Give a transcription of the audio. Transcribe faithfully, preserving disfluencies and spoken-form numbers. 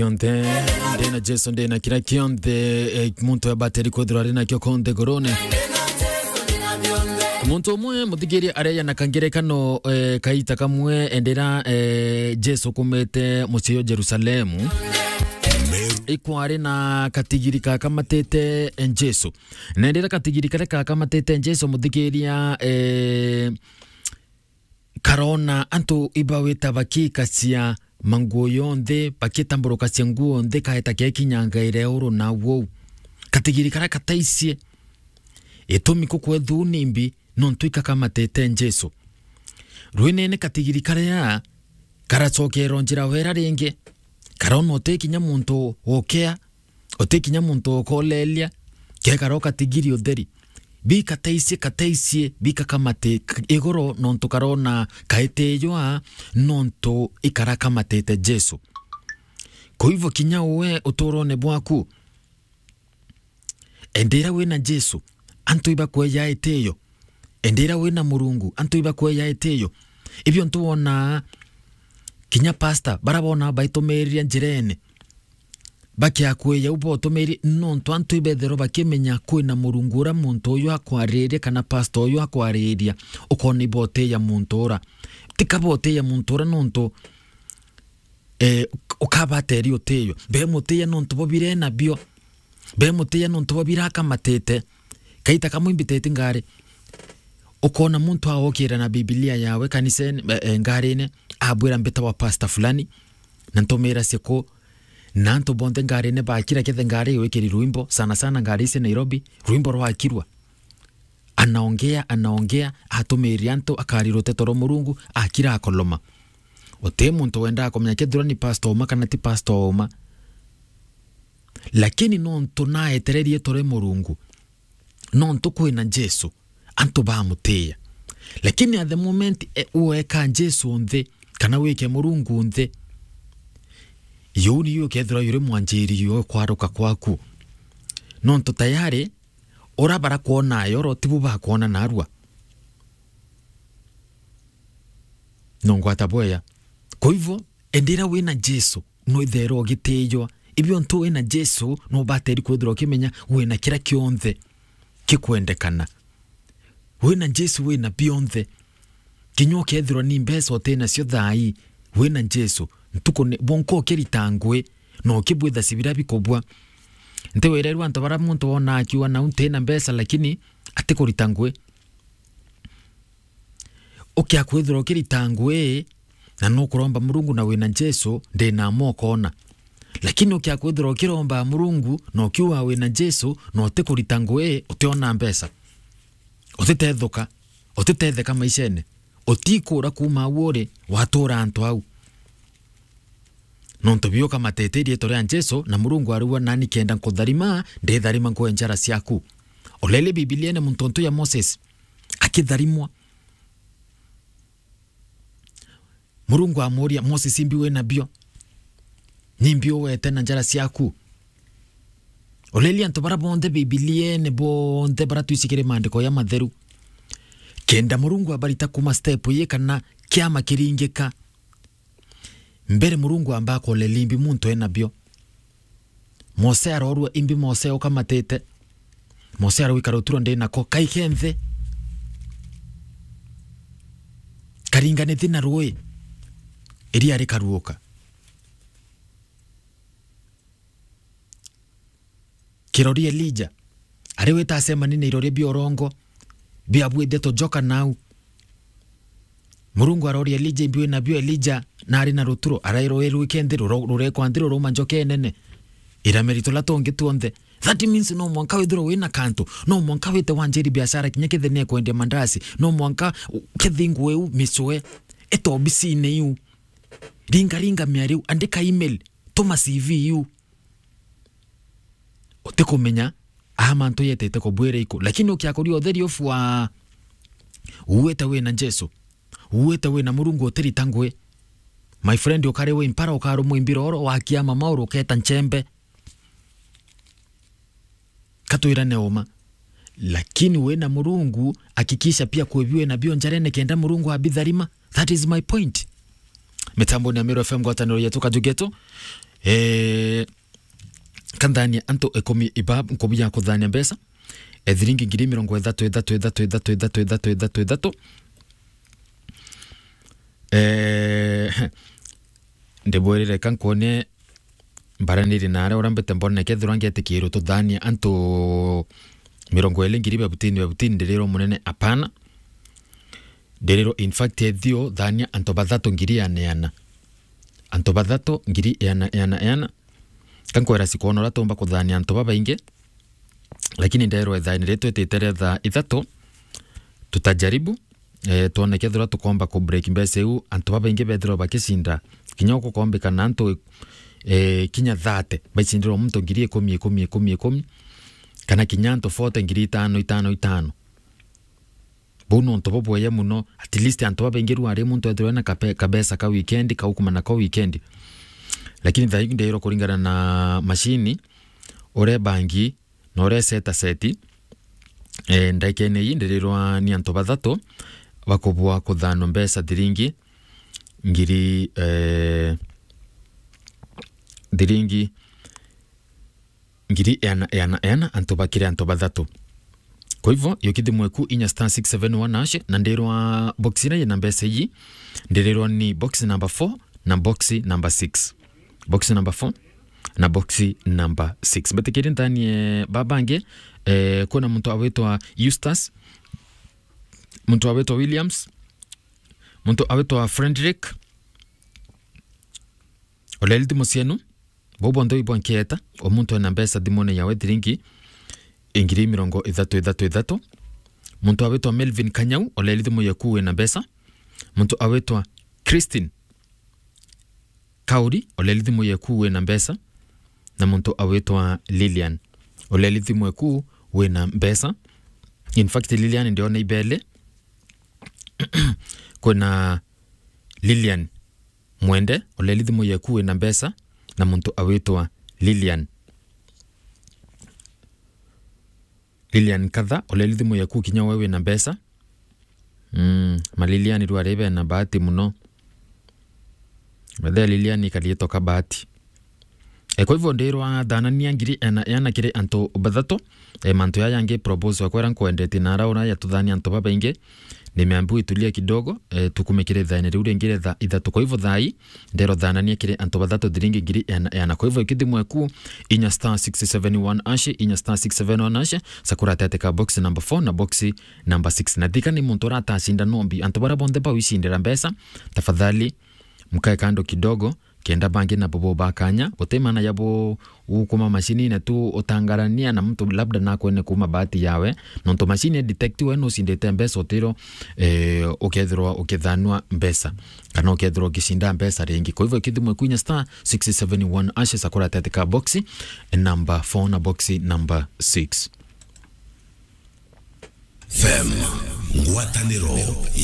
Kionthe, ndina Jesu, ndina kira kionthe, eh, muntu abateri kwithirwa ari nakio konthe ngorone. Muntu umwe muthikiria areja na kangerekano, eh, kaita kamwe endera, eh, Jesu kumite mucii o Jerusalemu. Ikwari na katigiri kakamatite, eh, Jesu. Na endera katigiri karia kakamatite Jesu muthikiria, eh, karona antu ibawita bakikacia manguo yonthe, bakitamburukacia nguo nthi, kaeta kekinyangaire uru na wou. Katigiri karia kataicie. Itumi kukwethuu nimbi, nontu ikakamatite Jesu. Rwinene katigiri karia karacokera njira wera ringi, karona uti kinya muntu ukea, uti kinya muntu ukoleria, kekara ukatigiri utheri. Bikataicie, kataicie, bikakamate k-, igoro nontu karona kaitijwa nontu ikarakamatite Jesu. Kwa hivyo kinya uwe uturone bwaku, endera wina Jesu, antu ibakweja itio. Endera wina Murungu, antu ibakweja itio. Ibio ntu wona kinya pastor, bara bona baitumirire njirene. Bakiakwiya u botumiri, nontu antu ibethirwa bakimenya kwina Murungu ura muntu uyu akwariria kana pastor uyu akwariria, ukona ibotiya muntu ura. Tika botiya muntu ura nontu, eh, uk-, ukabateri utiyo. Bemutiya nontu bo birena bio. Bemutiya nontu bo birakamatite. Kaita kamwe imbitete ngari. Ukona muntu aokira na Biblia yawe kanisene, eh, eh, ngarine, abwira mbita wa pastor fulani, na ntumira ciku, na antu bonthe ngarine bakira kethe ngari iwikiri rwimbo, sana sana ngari ici Nairobi, rwimbo rwakirwa. Anaongea, anaongea, atumiria antu akari ruteto rwa Murungu, akira akoloma. Uti muntu wendaa kumenya kethirwa ni pastor uma kana ti pastor uma. Lakini nontu naetererie tore Murungu, nontu kwina Jesu, antu bamutiya. Lakini at the moment, e, ueka Jesu nthi, kana wike Murungu nthi, yuu niyo ukethirwa yuri mwanjiri yo kwaruka kwaku. Nontu tayari, ura barakwona ayoro, tibu bakwona narua. Nongwata bweya. Kwa hivyo, endera wina Jesu, nwitherwa ugitijwa. Ibio ntu wina Jesu, nubateri kwithirwa ukimenya wina kira kionthe kikwendekana. Wina Jesu, wina bionthe. Kinya ukethirwa ni mbeca utinacio thaa ii, wina Jesu, ntuku ni, bwonka ukirita ngui, na ukibwitha cibira bikubua. Ntiwirerwa antu bara muntu wona akiuga, "Nau ntina mbeca," lakini atikurita ngui. Ukia kwithirwa ukirita ngui, na nukuromba Murungu na wina Jesu, ndina mwa ukona. Lakini ukia kwithirwa ukiromba Murungu, na ukiuga wina Jesu, na utikurita ngui, utiona mbeca. Utitethuka, utitetheka maishene. Utikura kuma au uri, watura antu au. Nontu biuka matete riitwa ria Jesu, na Murungu arigwa, "Nani kenda nkutharima, nditharima ngwe njara ciaku." Ulele Bibiliene muntu ntu ya Moses, akitharimwa. Murungu amuria, "Moses, imbi wina bio? Nimbi uwete na njara ciaku?" Ulelia antu bara bonthe Bibiliene, bonthe bara twicikire maandiko ya matheru. Kenda Murungu abarita kuma step ii kana kiama kiringika. Mbere Murungu amba akolelia imbi muntu ena bio. Mose arorua imbi Mose ukamatite. Mose arwika ruturo ndi nako, kaike nthi. Karinganithi na rui, iria rikaruuka. Kirori Elija, ari wita acemani na irori bia urongo, biabuite tujoka nau. Murungu aroria Elija, "Imbi wina bio?" Elija nari na ruturo, arairwa, "Wirwike nthi, ruro-, rurekwa nthi, rurauma njoka inene, irameri tula tungi tuonthe." That means no mwanka withirwe wina kantu, no mwanka wite wanjiri biashara, kinya kethira ni ekwendia mandasi, no mwanka u-, kethi nguu iu micwe, ete obisine iu, ringa ringa miari iu, andika email, tuma C V iu. Utikumenya aha mantu yetete kubwira iku, lakini ukiakuria utheri ufu wa uwite wina Jesu, uwite wina Murungu utirita ngui. My friend, ukari wi mpara, ukarumwa imbiroro, wakia mama uruketa nchembe. Katwirane uma. Lakini wina Murungu, hakikisha pia kwibi wina bio njarene kenda Murungu abitharima. That is my point. Mitamboni ya Meru F M, ngwataniro yetu, Kajugetu. Eh, kanthania antu ikumi iba nkubu ya kuthania mbeca. Eh, thiringi ngiri mirongo ithatu, ithatu, ithatu, ithatu, ithatu, ithatu, ithatu, ithatu. Eh, ndibwirire ka nkwone mbaraniri na aria urambite mbone kethirwa ngetikirwo tuthania antu mirongo iri ngiri babutini babutini, ndirirwo munene, apana. Ndirirwo, in fact, ethio thania antu bathatu ngiri iana iana. Antu bathatu ngiri iana, iana, iana. Kankwera sikwona uria tumba kuthania antu babaingi, lakini nderwa ithaini ritwitite ria thaa ithatu, tutajaribu, eh, twone kethirwa tukomba ku break mbeca iu, antu babaingi bethirwa bakicinda. Kinya gukombika na antu, eh, kinya thirty, baicindirwa muntu ngiri ikumi, ikumi, ikumi, ikumi, kana kinya antu forty, ngiri itano, itano, itano. Buu nontu bubweye muno, at least antu babaingi rwari muntu ethirwe na kape-, kabesa ka weekend, kaukuma nako weekend. Lakini thaa iu ndirwa kuringana na mashini, uria bangi, na uria seta seti, eh, ndagikene ii ndirirwa ni antu bathatu bakubua kuthanwa mbeca thiringi ngiri, eh, thiringi ngiri iana, iana, iana, antu bakiri antu bathatu. Kwa hivyo, yukithimwe ku inya star six seven one hash, na ndirwa box iria yina mbeca ii, ndirirwa ni box number four na box number six. Box number four na box number six. Mbetikiri nthanie babangi, eh, kwina muntu awitwa Eustace, muntu awitwa Williams, muntu awitwa Frederick, Oleli thimu cienu, bau bonthe ibwa nkieta, o muntu ena mbeca thimune yawe thiringi ingiri mirongo ithatu ithatu ithatu. Muntu awitwa Melvin Kanyau, oleli thimu yeku wina mbeca. Muntu awitwa Christine Kauri, oleli thimu yeku wina mbeca. Na muntu awitwa Lilian, oleli thimu yeku wina mbeca. In fact, Lilian ndiona ibele. Kwina Lilian Mwende, oleli thimu yeku wina mbeca, na muntu awitwa Lilian. Lilian Katha, oleli thimu yeku kinya we wina mbeca. Mm, ma Lilian rwari bena bahati muno. Bethe Lilian karietwa ka bahati. E, kwa hivyo ndirwa thanania ngiri ena, ena kiri antu bathatu. E, mantu ya yangi propose wakwera nkwendete na ara ura ya tuthania antu babaingi. Nimeambiwa itulie kidogo, e, tukume kiri thaini riu ringi ria thaa ithatu. Kwa hivyo thaa ii, nderwa thanania kiri antu bathatu thiringi ngiri ena, ena. Kwa hivyo ikithimwe ku inya star six seven one hash, inya star six seven one hash, sakura tete ka box number four na box number six. Na thika ni muntu uratacinda nombi. Antu bara bonthe bawicindira mbeca, tafadhali mkae kando kidogo, kenda bangi nabo boba kanya. Guti maana ya bo ukuma macini na tu utangarania na mtu labda nakwene kuma bahati yawe. Nontu macini ya detect we nucindite mbeca utiro, eh, ukethirwa ukithanua mbeca, kana ukethirwa ukicinda mbeca ringi. Kwa hivyo ikithimwe kwinya star six seven one hash, sakura tete ka box number four na box number six. F M, ngwataniro